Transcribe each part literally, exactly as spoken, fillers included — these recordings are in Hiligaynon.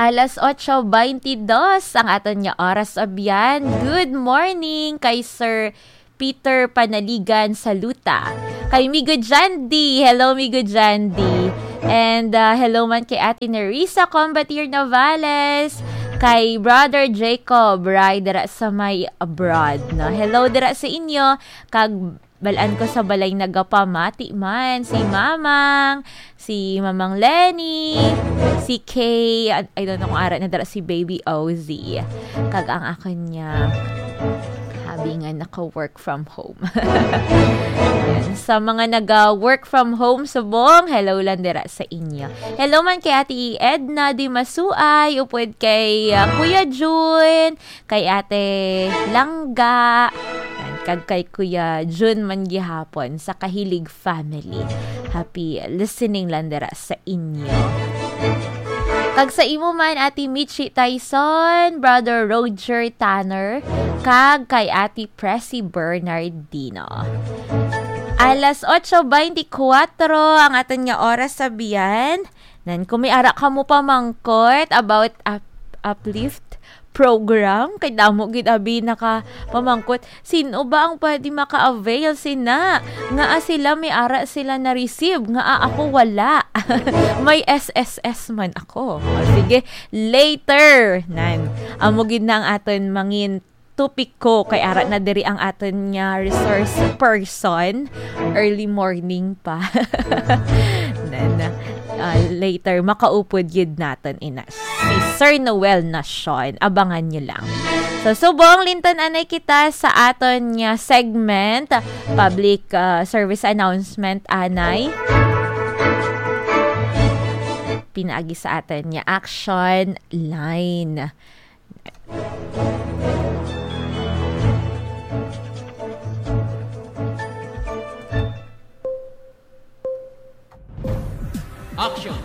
Alas otso beintidos ang aton nga oras, abyan. Good morning kay Sir Peter Panaligan Saluta. Kay Migo Jandy. Hello, Migo Jandy. And, ah, hello man kay Ate Nerissa Combatier Navales. Kay Brother Jacob Ray dira sa may abroad, no? Hello dira sa inyo. Kag balaan ko sa balay nagapamati man si Mamang, si Mamang Lenny, si Kay, I I don't know kung ara na dira si Baby Ozzy. Kag ang akon niya, habi nga naka-work from home. Yan. Sa mga naga-work from home subong, hello lang dira sa inyo. Hello man kay Ate Edna Di Masuay, upod kay, ah, Kuya Jun, kay Ate Langga, yan, kag kay Kuya Jun man gihapon sa Kahilig family. Happy listening lang dira sa inyo. Kag sa imo man, Ate Michi Tyson, Brother Roger Tanner, kag kay Ate Presi Bernardino. Alas otso beintikwatro ang aton nga oras, abyan. Nan, kung may ara kamo pamangkot about up-, Uplift program, kay damo gid abi nakapamangkot, "Sino ba ang pwede maka-avail sina? Ngaa sila may ara sila na-receive, ngaa ako wala?" May S S S man ako. O, sige, later. Nan, amo gid na ang aton mangin topiko, kay ara na diri ang aton nga resource person. Early morning pa. Then, ah, later, makaupod gid naton ina si Sir Noel Nacion. Abangan nyo lang. So, subong, limtan anay kita sa aton nga segment, public, ah, service announcement anay. Pinaagi sa aton nga action line. Action!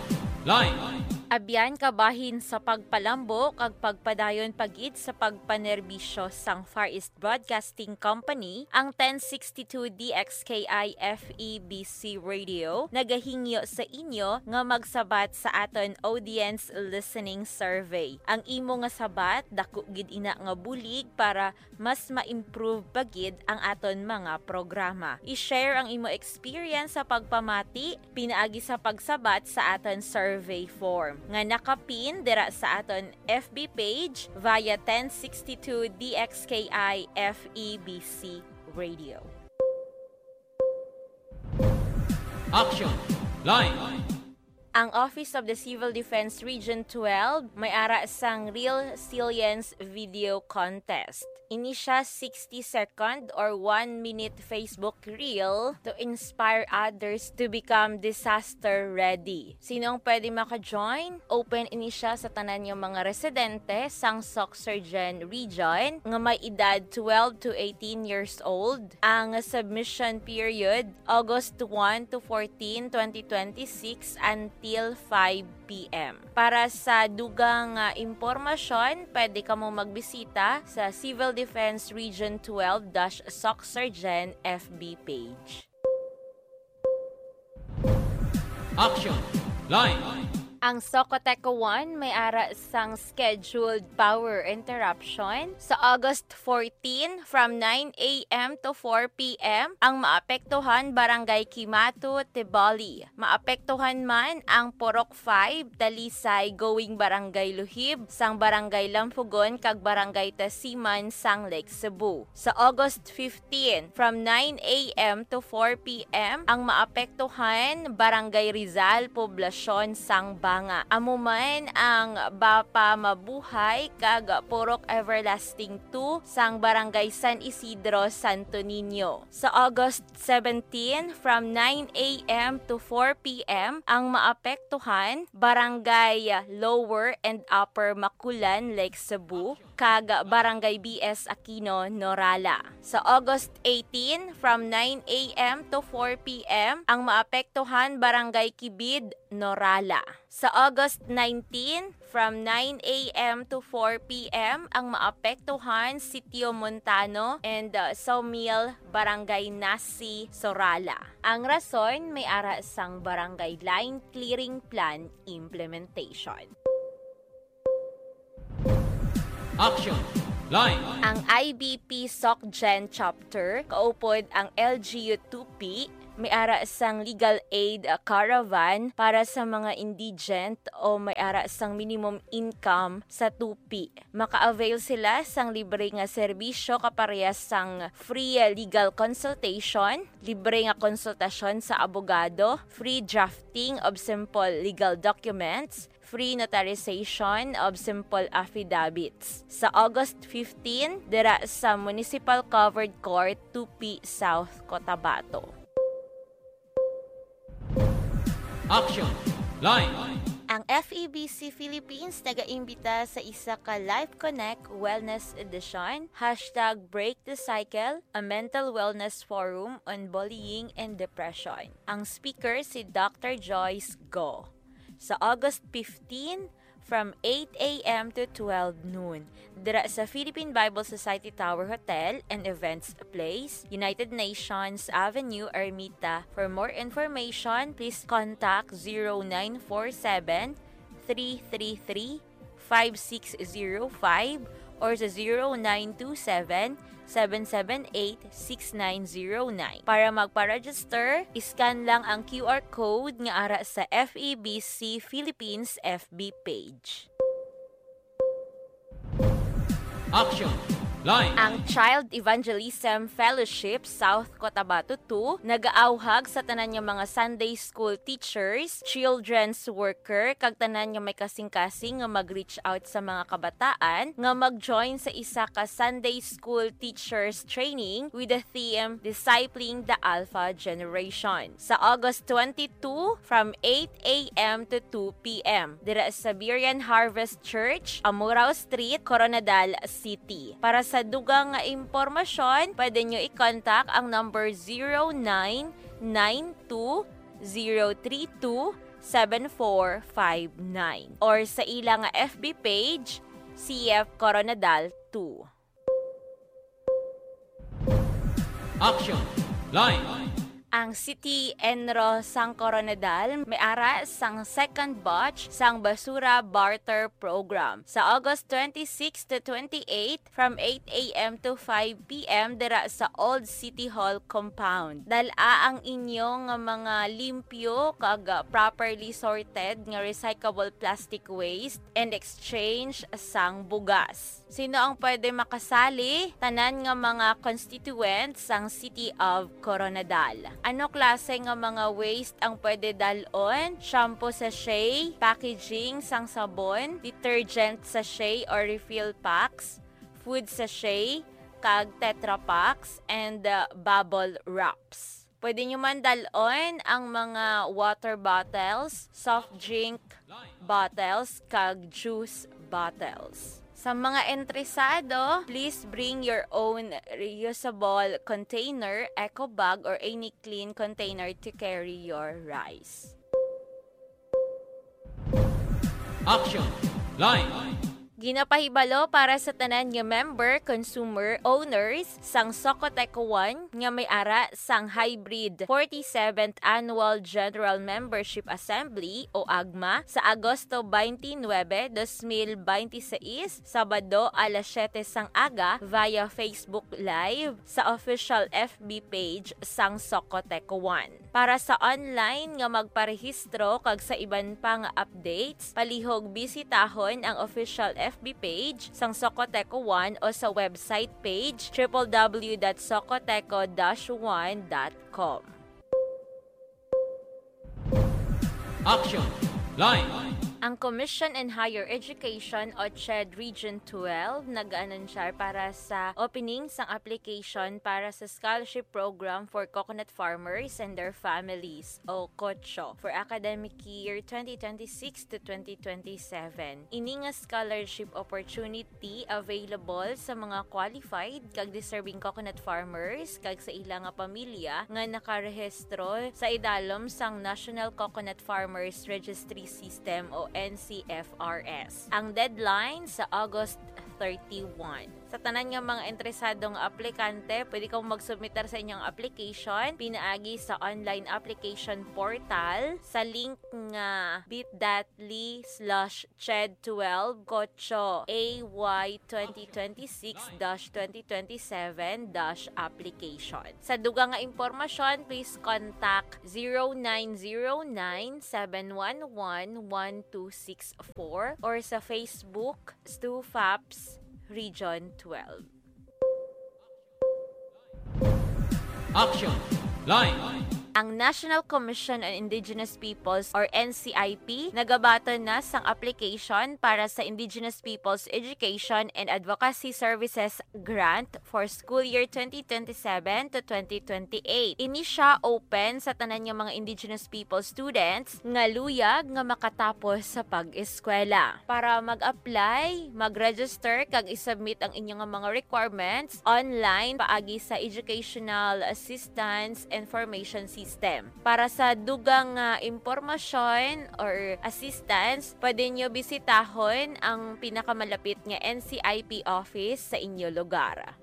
Line! Abyan kabahin sa pagpalambo kag pagpadayon pa gid sa pagpanerbisyo sang Far East Broadcasting Company, ang ten sixty-two D X K I F E B C Radio nagahingyo sa inyo nga magsabat sa aton audience listening survey. Ang imo nga sabat, dako gid ina nga bulig para mas ma-improve pa gid ang aton mga programa. I-share ang imo experience sa pagpamati pinaagi sa pagsabat sa aton survey form nga nakapin dira sa aton F B page via ten sixty-two D X K I F E B C Radio. Action! Line! Ang Office of the Civil Defense Region twelve may ara sang Reel Resilience Video Contest. Ini sia sixty second or one minute Facebook reel to inspire others to become disaster ready. Sino ang pwede maka-join? Open ini sia sa tanan nga mga residente sang Soccsksargen Region nga may edad twelve to eighteen years old. Ang submission period August one to fourteen, twenty twenty-six, until five P M. Para sa dugang nga impormasyon, pwede kamo magbisita sa Civil Defense Region twelve dash Soccsksargen F B page. Action! Line! Ang Socoteco one may ara sang scheduled power interruption sa August fourteen from nine A M to four P M. Ang maapektuhan, Barangay Kimato, Tiboli. Maapektuhan man ang Purok five, Talisay, going Barangay Luhib, sang Barangay Lampugon, kag Barangay Tasiman, sang Lake Cebu. Sa August fifteen, from nine A M to four P M, ang maapektuhan, Barangay Rizal, Poblacion, sang Banga. Amo man ang Bapa Mabuhay kag Purok Everlasting two sang Barangay San Isidro, Santo Niño. Sa August seventeen, from nine A M to four P M, ang maapektuhan, Barangay Lower and Upper Maculan, Lake Cebu, kag Barangay B S Aquino, Norala. Sa August eighteen, from nine A M to four P M, ang maapektuhan, Barangay Kibid, Norala. Sa August nineteen, from nine A M to four P M, ang maapektuhan, Sitio Montano and, uh, Sawmill, Barangay Nasi, Sorala. Ang rason, may ara sang Barangay Line Clearing Plan implementation. Action! Line! Ang I B P SocGen Chapter, kaupod ang L G U Tupi, may ara sang legal aid, ah, caravan para sa mga indigent o may ara sang minimum income sa Tupi. Maka-avail sila sang libre nga serbisyo kaparehas sang free legal consultation, libre nga konsultasyon sa abogado, free drafting of simple legal documents, free notarization of simple affidavits. Sa August fifteen, dira sa Municipal Covered Court, Tupi, South Cotabato. Action! Line! Ang F E B C Philippines nagaimbita sa isa ka Life Connect Wellness Edition, hashtag Break the Cycle, a mental wellness forum on bullying and depression. Ang speaker si Doctor Joyce Go. Sa August fifteen, from eight a m to twelve noon, dira sa Philippine Bible Society Tower Hotel and Events Place, United Nations Avenue, Ermita. For more information, please contact zero nine four seven, three three three, five six zero five or sa zero nine two seven, seven seven eight, six nine zero nine. Para magpa-register, i-scan lang ang Q R code nga ara sa F E B C Philippines F B page. Action! Line! Ang Child Evangelism Fellowship South Cotabato two nagaawhag sa tanan nga mga Sunday school teachers, children's worker, kag tanan nga may kasing-kasing nga mag-reach out sa mga kabataan nga mag-join sa isa ka Sunday school teachers training with the theme Discipling the Alpha Generation. Sa August twenty-two, from eight a m to two p m, dira sa Berean Harvest Church, Amurao Street, Koronadal City. Para sa dugang nga impormasyon, pwede nyo i-contact ang number zero nine nine two zero three two seven four five nine or sa ila nga F B page, C F Koronadal two. Action! Line! Ang City Enro sang Koronadal may ara sang second batch sang Basura Barter Program. Sa August twenty-six to twenty-eight, from eight a m to five p m, dira sa Old City Hall compound. Dal-a ang inyo nga mga limpyo kag, ah, properly sorted nga recyclable plastic waste and exchange sang bugas. Sino ang pwede makasali? Tanan nga mga constituents sang City of Koronadal. Ano klase nga mga waste ang pwede dal-on? Shampoo sachet, packaging sang sabon, detergent sachet or refill packs, food sachet, kag Tetra Paks, and, uh, bubble wraps. Pwede nyo man dal-on ang mga water bottles, soft drink bottles, kag juice bottles. Sa mga interesado, please bring your own reusable container, eco bag, or any clean container to carry your rice. Action! Line! Ginapahibalo para sa tanan nga member, consumer, owners sang Socotec One nga may ara sang Hybrid forty-seventh Annual General Membership Assembly o AGMA sa Agosto twenty-nine, dos mil bente seis, Sabado, alas siyete sang aga via Facebook Live sa official F B page sang Socotec One. Para sa online nga magparehistro kag sa iban pa nga updates, palihog bisitahon ang official F B page sang Socoteco One o sa website page, triple W dot socoteco dash one dot com. Action! Line! Ang Commission on Higher Education o CHED Region twelve nag-aanunsyar para sa opening sang application para sa scholarship program for coconut farmers and their families o COCHO for academic year twenty twenty-six to twenty twenty-seven. Ini nga scholarship opportunity available sa mga qualified kag deserving coconut farmers kag sa ila nga pamilya nga nakarehistro sa idalom sang National Coconut Farmers Registry System o N C F R S. Ang deadline sa August thirty-one. Sa tanan nga mga interesado nga aplikante, pwede kamo magsubmitar sa inyong application pinaagi sa online application portal sa link nga bit.ly/ched12 kotso AY twenty twenty-six dash twenty twenty-seven dash application. Sa dugang nga impormasyon, please contact zero nine zero nine, seven one one, one two six four or sa Facebook, STUFAPS Region twelve. Action Line. Ang National Commission on Indigenous Peoples or N C I P nagabaton na sang application para sa Indigenous Peoples Education and Advocacy Services Grant for school year twenty twenty-seven to twenty twenty-eight. Ini sia open sa tanan nga mga Indigenous People students nga luyag nga makatapos sa pag-eskwela. Para mag-apply, mag-register kag i-submit ang inyong mga requirements online paagi sa Educational Assistance Information System. Para sa dugang nga impormasyon or assistance, pwede nyo bisitahon ang pinakamalapit nga N C I P office sa inyo lugar.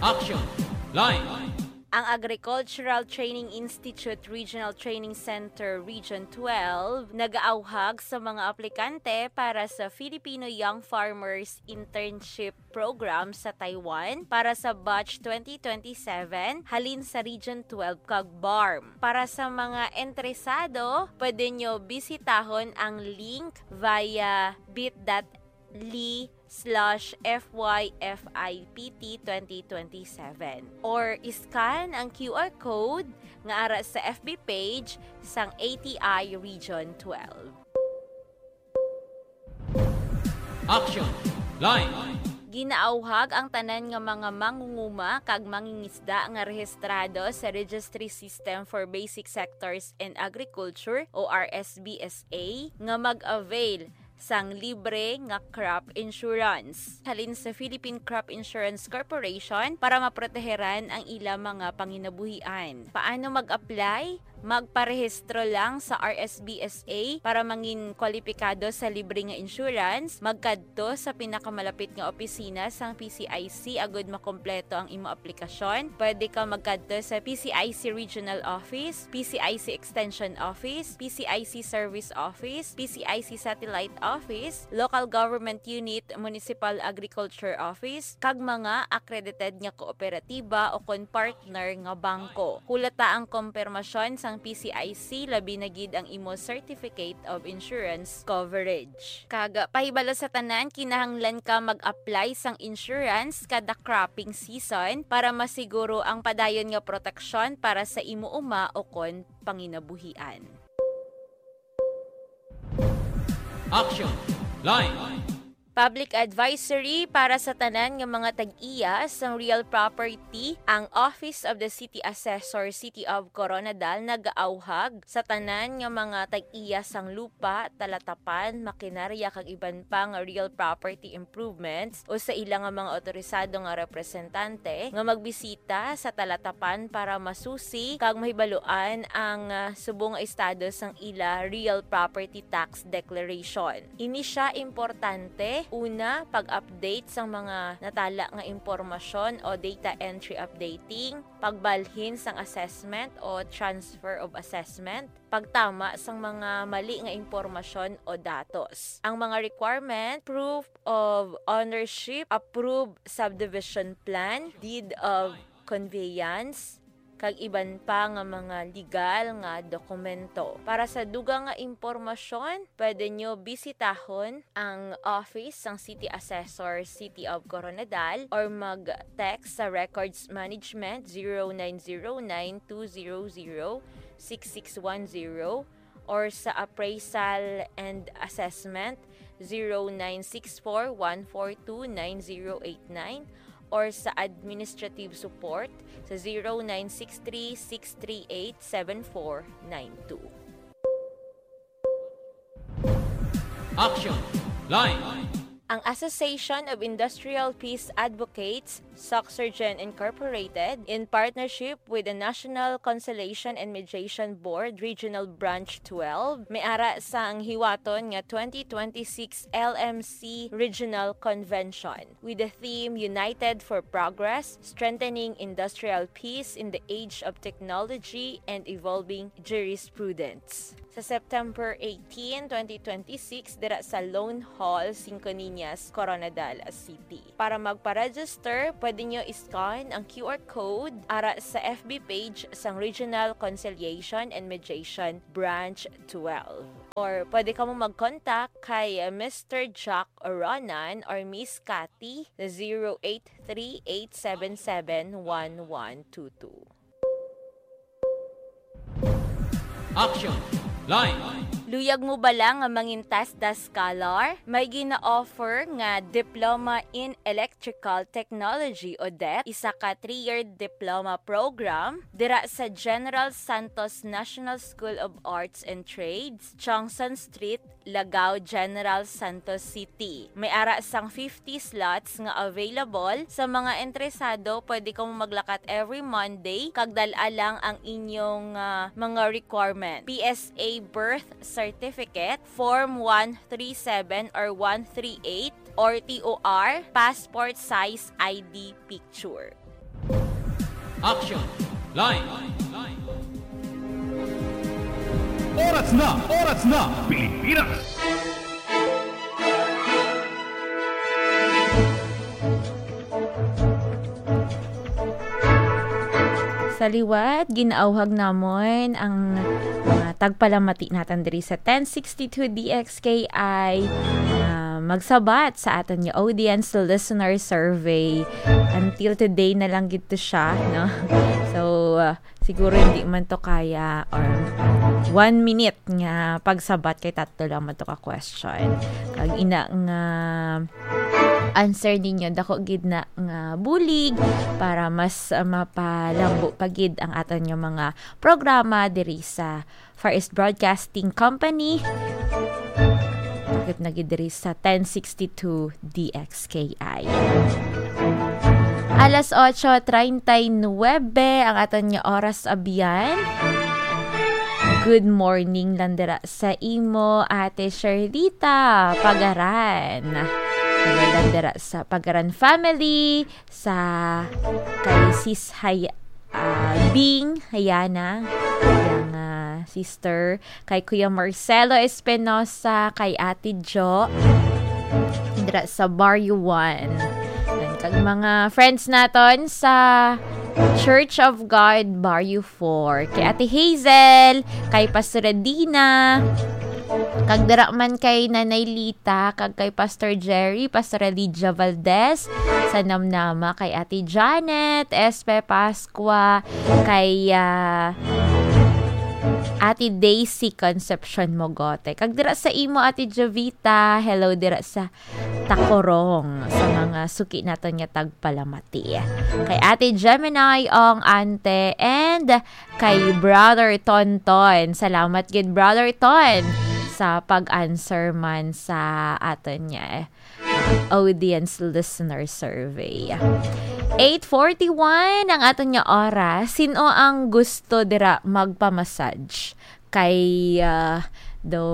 Action Line. Ang Agricultural Training Institute Regional Training Center Region twelve nagaawhag sa mga aplikante para sa Filipino Young Farmers Internship Program sa Taiwan para sa batch twenty twenty-seven halin sa Region twelve kag BARMM. Para sa mga interesado, pwede nyo bisitahon ang link via bit.ly/fyfipt twenty twenty-seven or i-scan ang Q R code nga ara sa F B page sang A T I Region twelve. Action Line. Ginaawhag ang tanan nga mga mangunguma kag mangingisda nga rehistrado sa Registry System for Basic Sectors in Agriculture o R S B S A nga mag-avail sang libre nga crop insurance halin sa Philippine Crop Insurance Corporation para maproteheran ang ila mga panginabuhian. Paano mag-apply? Magparehistro lang sa R S B S A para mangin kwalipikado sa libre nga insurance. Magkadto sa pinakamalapit nga opisina sang P C I C agud makompleto ang imo aplikasyon. Pwede ka magkadto sa P C I C Regional Office, P C I C Extension Office, P C I C Service Office, P C I C Satellite Office, Local Government Unit, Municipal Agriculture Office, kag mga accredited nga kooperatiba o kon partner nga bangko. Hulata ang kompermasyon sang P C I C, labi na gid ang imo Certificate of Insurance Coverage. Kag pahibalo sa tanan, kinahanglan ka mag-apply sang insurance kada cropping season para masiguro ang padayon nga proteksyon para sa imo uma o kon panginabuhian. Action Line. Public advisory para sa tanan nga mga tag-iya sang real property, ang Office of the City Assessor, City of Koronadal, nagaawhag sa tanan nga mga tag-iya sang lupa, talatapan, makinarya, kag iban pa nga real property improvements o sa ila nga mga otorisado nga representante nga magbisita sa talatapan para masusi kag mahibaluan ang, ah, subong nga estado sang ila real property tax declaration. Ini sia importante, una, pag-update sang mga natala nga impormasyon o data entry updating, pagbalhin sang assessment o transfer of assessment, pagtama sang mga mali nga impormasyon o datos. Ang mga requirement, proof of ownership, approved subdivision plan, deed of conveyance, kag iban pa nga mga legal nga dokumento. Para sa dugang nga impormasyon, pwede nyo bisitahon ang office sang City Assessor, City of Koronadal, or mag-text sa Records Management zero nine zero nine two zero zero six six one zero, or sa Appraisal and Assessment zero nine six four one four two nine zero eight nine, or sa Administrative Support sa zero nine six three six three eight seven four nine two. Action Line. Ang Association of Industrial Peace Advocates, Soxurgen Incorporated, in partnership with the National Conciliation and Mediation Board Regional Branch twelve, may ara sang hiwaton nga twenty twenty-six L M C Regional Convention with the theme United for Progress, Strengthening Industrial Peace in the Age of Technology and Evolving Jurisprudence. Sa September eighteen, twenty twenty-six, dira sa Lone Hall, Cinco Niñas, Koronadal City. Para magpa-register, pwede nyo i-scan ang Q R code ara sa F B page sang Regional Conciliation and Mediation Branch twelve. Or pwede kamo mag-contact kay, uh, Mister Jack Oronan or Miss Cathy sa zero eight three eight seven seven one one two two. Action! Line! Luyag mo bala nga mangin TESDA scholar? May gina-offer nga Diploma in Electrical Technology o det, isa ka three-year diploma program dira sa General Santos National School of Arts and Trades, Chongson Street, Lagao, General Santos City. May ara sang fifty slots nga available. Sa mga interesado, pwede kamo maglakat every Monday, kag dal-a lang ang inyong, ah, mga requirement. P S A birth certificate, form one three seven or one three eight, or T O R, passport size I D picture. Action! Line! Oras na! Oras na, Pilipinas! Sa liwat, ginaawhag namon ang mga tagpalamati naton diri sa ten sixty-two D X K I, ah, magsabat sa aton nga audience listener survey. Until today na lang gid to siya, no? So, ah, siguro hindi man to kaya, or one minute nga pagsabat kay tatlo lang man to ka question. Kag ina nga answer ninyo, dako gid na nga bulig para mas, ah, mapalambo pa gid ang aton nga mga programa diri sa Far East Broadcasting Company. Takip na gid diri sa ten sixty-two D X K I. Alas ocho treinta y nueve ang aton nga oras, abyan. Good morning lang dira sa imo, Ate Sherlita Pagaran. Hello lang dira sa Pagaran family, sa kay Sis Hay-, ah, Bing Hayana, yang, ah, sister, kay Kuya Marcelo Espinosa, kay Ate Jo, dira sa Barrio one. Yan, kag mga friends naton sa Church of God, Barrio four. Kay Ate Hazel, kay Pastora Dina, kag dira man kay Nanay Lita, kag kay Pastor Jerry, Pastor Elijah Valdez, sa Namnama, kay Ate Janet, Espe Pascua, kay, ah, Ate Daisy Concepcion Mogote. Kag dira sa imo, Ate Jovita, hello dira sa Tacorong, sa mga suki naton nga tagpalamati. Kay Ate Gemini Ong Ante and kay Brother Tonton. Salamat gid, Brother Ton, sa pag-answer man sa aton nga, uh, audience listener survey. Eight forty-one ang aton nga oras. Sino ang gusto dira magpa-massage? Kay, ah, daw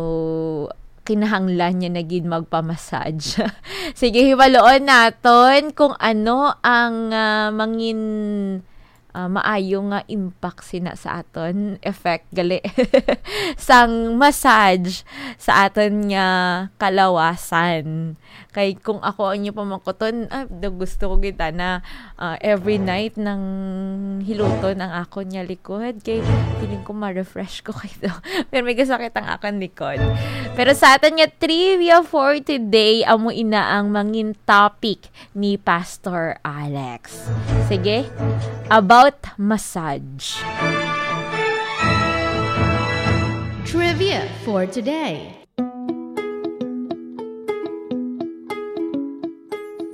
kinahanglan niya na gid magpa-massage. Sige, hibaluon naton kung ano ang, ah, mangin-, ah, maayo nga impact sina sa aton, effect gali sang massage sa aton nga kalawasan. Kay kung ako ang inyo pamangkuton, ah, daw gusto ko gid na, ah, every night nang hiluton ang akon nga likod. Kay feeling ko ma-refresh ko kay do. Pero may kasakit ang akon likod. Pero sa aton nga trivia for today, amo ina ang mangin topic ni Pastor Alex. Sige, about massage. Trivia for today.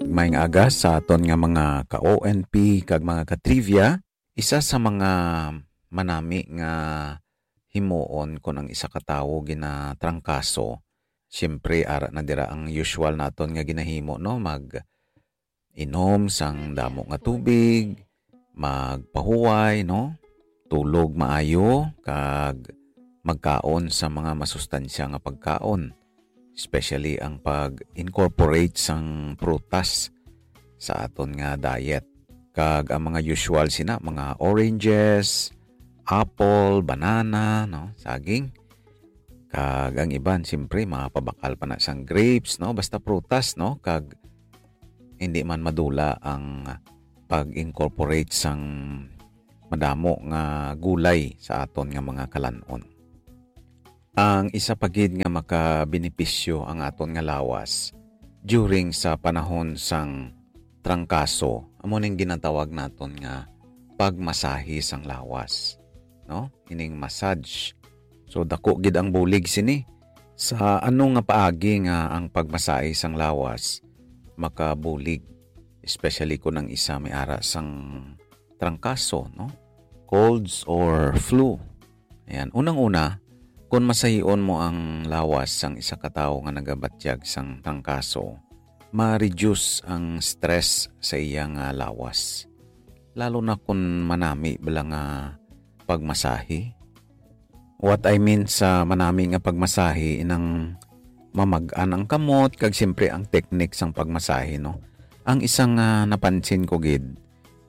Maayong aga sa aton nga mga ka-O N P kag mga ka-trivia. Isa sa mga manami nga himuon kon ang isa ka tawo ginatrangkaso, Siyempre, ara na dira ang usual naton nga ginahimo, no? Mag-inom sang damo nga tubig, magpahuway, no? Tulog maayo, kag magkaon sa mga masustansya nga pagkaon, especially ang pag-incorporate sang prutas sa aton nga diet. Kag ang mga usual sina, mga oranges, apple, banana, no? Saging. Kag ang iban, siyempre, mapabakal pa na sang grapes, no? Basta prutas, no? Kag hindi man madula ang pag-incorporate sang madamo nga gulay sa aton nga mga kalan-on. Ang isa pa gid nga makabenepisyo ang aton nga lawas during sa panahon sang trangkaso, amo ning ginatawag naton nga pagmasahe sang lawas, no? Ining massage. So, dako gid ang bulig sini. Sa ano nga paagi nga ang pagmasahe sang lawas makabulig, especially kung ang isa may ara sang trangkaso, no? Colds or flu. Ayan. Unang-una, kung masahion mo ang lawas sang isa ka tawo nga nagabatyag sang trangkaso, ma-reduce ang stress sa iya nga lawas. Lalo na kung manami bala nga pagmasahe. What I mean sa manami nga pagmasahe, inang mamag-an ang kamot, kag siyempre ang teknik sang pagmasahe, no? Ang isang, ah, napansin ko gid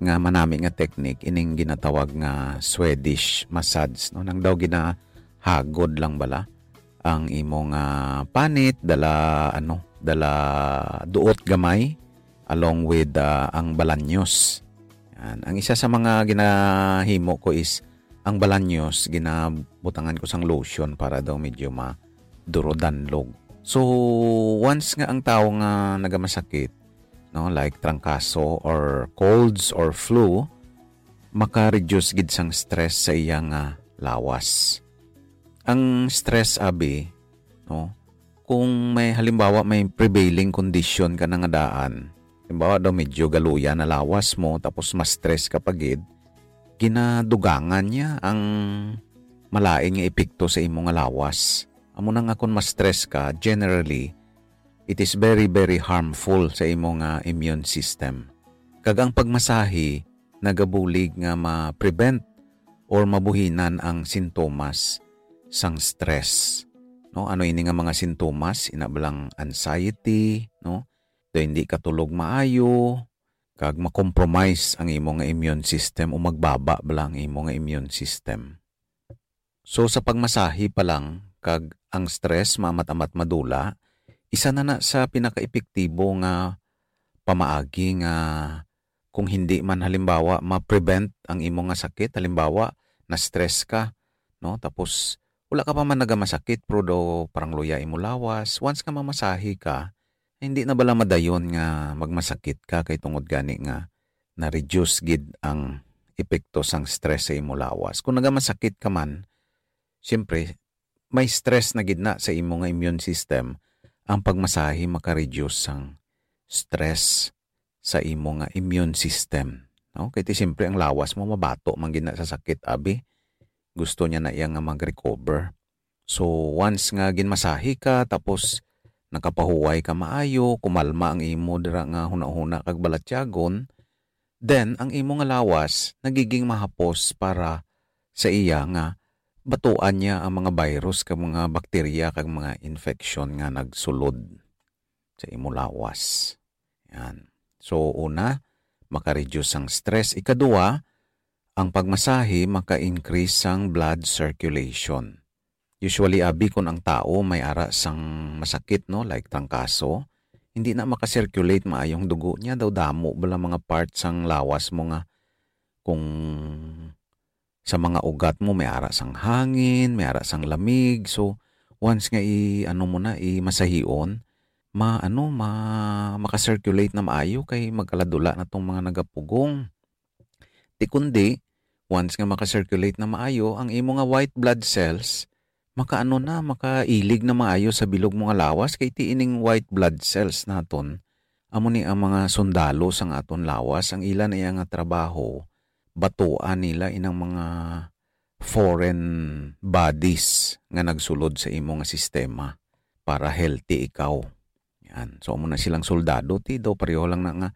nga manami nga teknik, ining ginatawag nga Swedish massage, no? Nang daw ginahagod lang bala ang imo nga panit, dala, ano, dala duot gamay, along with, ah, ang balanyos. Yan. Ang isa sa mga ginahimo ko is ang balanyos, ginabutangan ko sang lotion para daw medyo madurodanlog. So, once nga ang tawo nga nagamasakit, no, like trangkaso or colds or flu, maka-reduce gid sang stress sa iya nga lawas. Ang stress, abi, no, kung may, halimbawa, may prevailing condition ka na nga daan, halimbawa daw, medyo galuya na lawas mo, tapos ma-stress ka pa gid, ginadugangan niya ang malain nga epekto sa imo nga lawas. Amo na nga, kung ma-stress ka, generally, it is very, very harmful sa imo nga immune system. Kag ang pagmasahe nagabulig nga ma-prevent or mabuhinan ang sintomas sang stress. No, ano ini nga mga sintomas? Ina bala ang anxiety, no? Daw hindi ka tulog maayo, kag ma-compromise ang imo nga immune system o magbaba bala ang imo nga immune system. So, sa pagmasahe pa lang, kag ang stress maamat-amat madula, isa na na sa pinakaepektibo nga pamaagi nga kung hindi man, halimbawa, ma-prevent ang imo nga sakit, halimbawa, na-stress ka, no? Tapos, wala ka pa man nagamasakit, pero daw parang luya imo lawas. Once nga mamasahe ka, hindi na bala madayon nga magmasakit ka kay tungod gani nga na-reduce gid ang epekto sang stress sa imo lawas. Kung nagamasakit ka man, siyempre, may stress na gid na sa imo nga immune system. Ang pagmasahe maka-reduce sang stress sa imo nga immune system, no? Kay ti siyempre ang lawas mo mabato man gid na sa sakit, abi. Gusto niya na iya nga mag-recover. So, once nga ginmasahe ka, tapos nakapahuway ka maayo, kumalma ang imo dira nga hunahuna kag balatyagon, then ang imo nga lawas nagiging mahapos para sa iya nga batuan niya ang mga virus kag mga bakterya kag mga infection nga nagsulod sa imo lawas. Yan. So, una, maka-reduce ang stress. Ikaduha, ang pagmasahe maka-increase sang blood circulation. Usually, abi, kun ang tao may ara sang masakit, no, like trangkaso, hindi na maka-circulate maayong dugo niya. Daw damo bala mga part sang lawas mo nga kung sa mga ugat mo may ara sang hangin, may ara sang lamig. So, once nga i-, ano mo na, i-masahion, ma-, ano, ma-, maka-circulate na maayo kay magkaladula na tong mga nagapugong. Ti kundi, once nga maka-circulate na maayo, ang imo nga white blood cells, makaano na, makailig na maayo sa bilog mo nga lawas, kay ti ining white blood cells naton, amo ni ang mga sundalo sang aton lawas, ang ila na iya nga trabaho, batuan nila inang mga foreign bodies nga nagsulod sa imo nga sistema. para healthy ikaw. Yan. So, amo na silang soldado, ti daw pareho lang na nga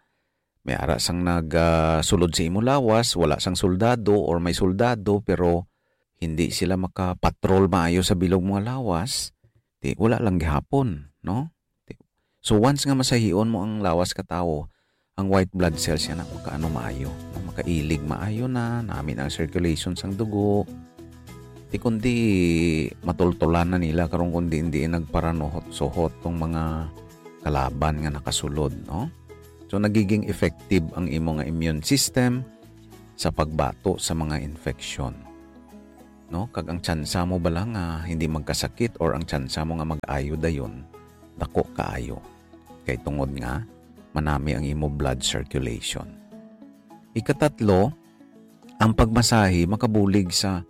may ara sang nag, ah, sulod sa imo lawas, wala sang soldado or may soldado, pero hindi sila makapatrol maayo sa bilog mga lawas, ti wala lang gihapon, no? Ti-, so, once nga masahion mo ang lawas ka tawo, ang white blood cells yan na makaano maayo, no? Makailig maayo na, nami na ang circulation sang dugo. Ti kundi matultulan na nila karon kundi hindi nagparanuhot-suhot tong mga kalaban nga nakasulod, no? So, nagiging effective ang imo nga immune system sa pagbato sa mga infection, no? Kag ang tsansa mo bala nga hindi magkasakit or ang tsansa mo nga mag-ayo dayon, dako kaayo. Kay tungod nga manami ang imo blood circulation. Ikatatlo, ang pagmasahe makabulig sa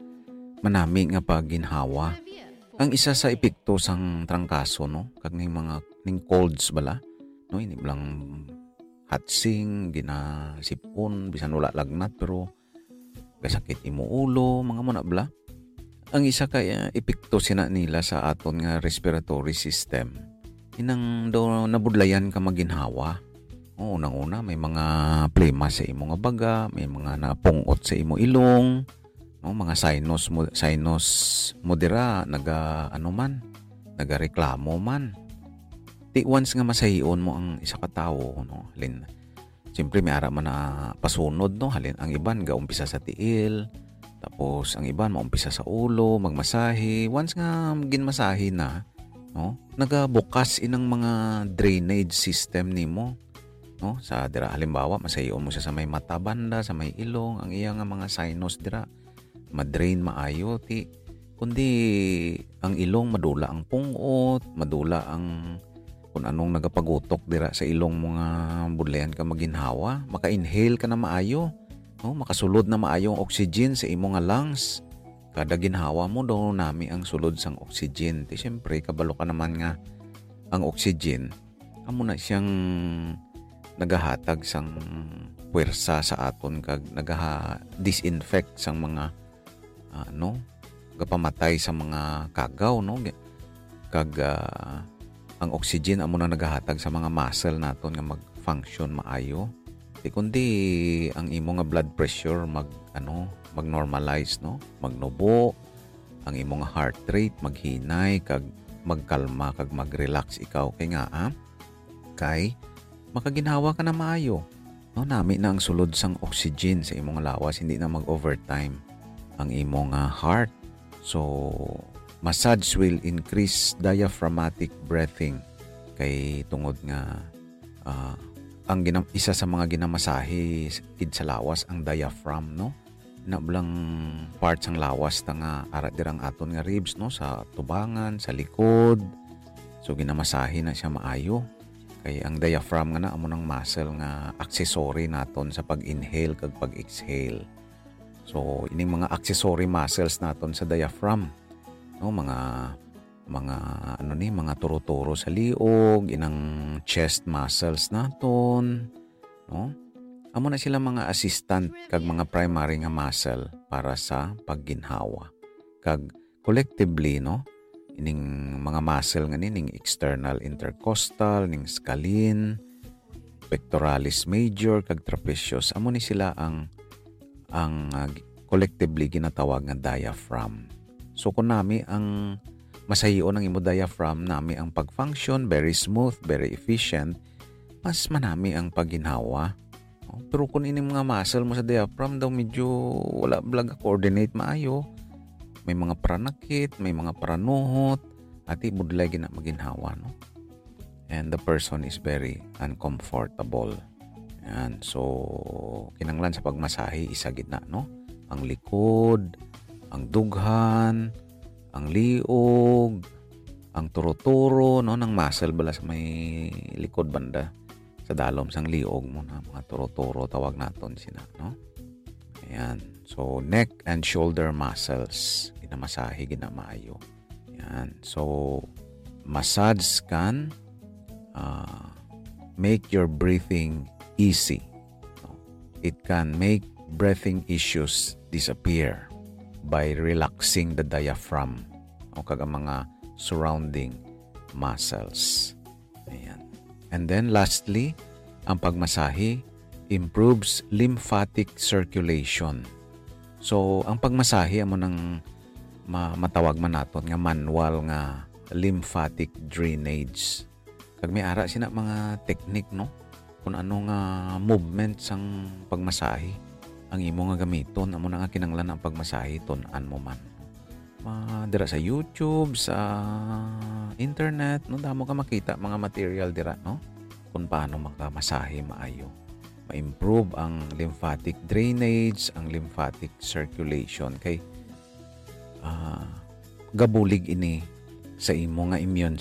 manami nga pagginhawa. Ang isa sa epekto sang trangkaso, no, kag ning mga, ning colds bala, no, ini lang hatsing, ginasipon, bisan wala lagnat, pero gasakit imo ulo, mga muna bala. Ang isa ka, eh, epekto sina nila sa aton nga respiratory system, inang daw nabudlayan ka maginhawa. O, unang-una, may mga plema sa imo nga baga, may mga napungot sa imo ilong, no, mga sinus mo, sinus mo dira, naga, ano man, nagareklamo man. Ti once nga masahion mo ang isa ka tawo, no, halin, siyempre, may ara man na pasunod, no, halin, ang iban gaumpisa sa tiil, tapos ang iban maumpisa sa ulo, magmasahe. Once nga ginmasahe na, no, nagabukas inang mga drainage system nimo, no? Sa dira, halimbawa, masahion mo siya sa may mata banda, sa may ilong, ang iya nga mga sinus dira, ma-drain maayo, ti, kundi ang ilong madula ang pungot, madula ang kun anong nagapagutok dira sa ilong mo nga budlayan ka maginhawa, maka-inhale ka na maayo, no? Makasulod na maayo ang oxygen sa imo nga lungs. Kada ginhawa mo, daw nami ang sulod sang oxygen. Ti, siyempre, kabalo ka naman nga ang oxygen, amo na siyang nagahatag sang puwersa sa aton kag nagaha-, disinfect sang mga, ah, ano, gapamatay sa mga kagaw, no? Ga-, kag, ah, ang oxygen amo na nagahatag sa mga muscle naton nga mag-function maayo. Ti kundi ang imo nga blood pressure mag, ano, mag-normalize, no? Magnubo, ang imo nga heart rate maghinay kag magkalma kag mag-relax ikaw. Kay nga, ah, kay makaginhawa ka na maayo. No, nami na ang sulod sang oxygen sa imo nga lawas, hindi na mag-overtime ang imo nga heart. So, massage will increase diaphragmatic breathing. Kay tungod nga, ah, ang gina-, isa sa mga ginamasahe s-, id sa lawas ang diaphragm, no? Na blang part sang lawas ta nga ara dira ang aton nga ribs, no, sa tubangan, sa likod. So, ginamasahe na siya maayo. Kay ang diaphragm nga na amo nang muscle nga accessory naton sa pag-inhale kag pag-exhale. So, ining mga accessory muscles naton sa diaphragm, no, mga, mga, ano ni, mga turo-turo sa liog, inang chest muscles naton, no? Amo na sila mga assistant kag mga primary nga muscle para sa pagginhawa. Kag collectively, no, ining mga muscle nga ni, ning external intercostal, ning scalene, pectoralis major, kag trapezius, amo ni sila ang, ang, ah, collectively ginatawag nga diaphragm. So, kung nami ang masahion ang imo diaphragm, nami ang pag-function, very smooth, very efficient, mas manami ang pagginhawa. No? Pero kung ining mga muscle mo sa diaphragm daw medyo wala blag coordinate maayo, may mga paranakit, may mga paranuhot, ati budlay gina maginhawa, no? And the person is very uncomfortable. Yan. So, kinanglan sa pagmasahe, isa gid na, no? Ang likod, ang dughan, ang liog, ang turo-turo, no? Nang muscle bala sa may likod banda, sa dalom sang liog mo na, mga turo-turo, tawag naton sina, no? Ayan. So, neck and shoulder muscles, ginamasahe, ginamaayo. Yan. So, massage can, ah, make your breathing easy. No? It can make breathing issues disappear by relaxing the diaphragm o kag ang mga surrounding muscles. Ayan. And then lastly, ang pagmasahe improves lymphatic circulation. So, ang pagmasahe amo nang ma- matawag man naton nga manual nga lymphatic drainage. Kag may ara sina mga technique, no? Kung ano nga movement sang pagmasahe ang imo nga gamiton, amo na nga kinanglan ang pagmasahe, tun-an mo man. Ma, dira sa YouTube, sa internet, no, damo ka makita mga material dira, no? Kung paano makamasahe maayo. Ma-improve ang lymphatic drainage, ang lymphatic circulation. Kay, ah, gabulig ini sa imo nga immune